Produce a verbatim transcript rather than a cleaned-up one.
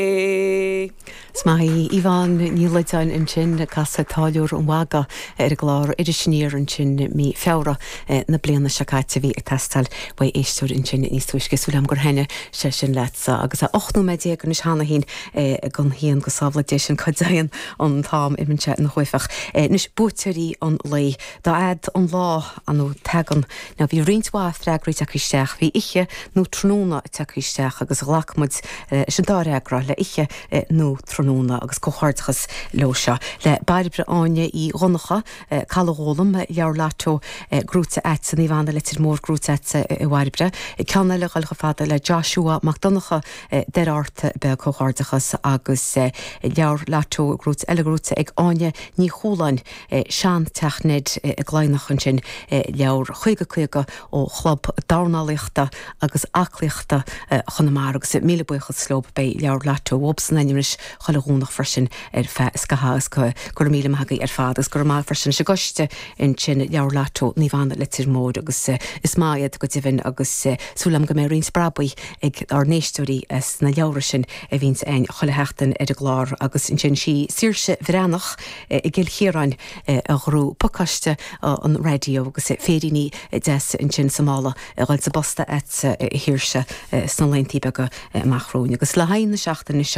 Is maith í Yvonne Ní Loideáin ansin ag casadh Táilliúir an Mhagaidh ar an gclár Iris Aniar ansin mí Feabhra na bliana seo caite bhí ag teastáil uaidh éisteoir ansin níos túisce súil agam gur thaitin sé sin leatsa agus a ocht nóiméad déag anois cheana féin don haon go sábhála Dia sinn cá dtéann an t-am imíonn sé ina chuaifeach. Anois buaiteoirí an lae dá fhad an lá nó tagann ná bhí roinnt mhaith freagraí tagtha isteach, bhí oíche nó tráthnóna tagtha isteach agus ghlac muid leis an dá fhreagra le oíche nó tráthnóna agus comhghairdeachas leo seo. Le Bairbre Áine Uí Dhonncha, Caladh Gólam, leabhar Lotto gnóite agat Naomh Anna Leitir Móir gnóite agat a Bhairbre. Ceann eile dhul chomh fada le Joshua Mac Donncha Doire Ard beag comhghairdeachas agus leabhar Lotto gnóite eile gnóite ag Áine Ní Chualáin sean-teach Ned i gCladhnach ansin leabhar caoga caoga ó chlub dornálaíochta agus aclaíochta Chonamara agus míle buíochas leo beidh leabhar Lotto uathub san ainm chuile Dhomhnach freisin ar feadh scatha agus go raibh míle maith agaibh ar fad agus go raibh maith freisin sa gcoiste ansin leabhar Lotto Naomh Anna Leitir Móir agus is maith iad go deimhin agus súil agam go mbeidh roinnt brabaigh ag ár n-éisteoirí sna leabhra sin a bhíonns againn chuile sheachtain ar an gclár agus ansin sí Saoirse Bhreathnach i gCill Chiaráin a ghnóthaigh pacáiste an raidió agus féiríní deas ansin sa mála a dhul sa bposta agat a Shaoirse sna laethanta beaga amach romhainn agus le haghaidh na seachtaine seo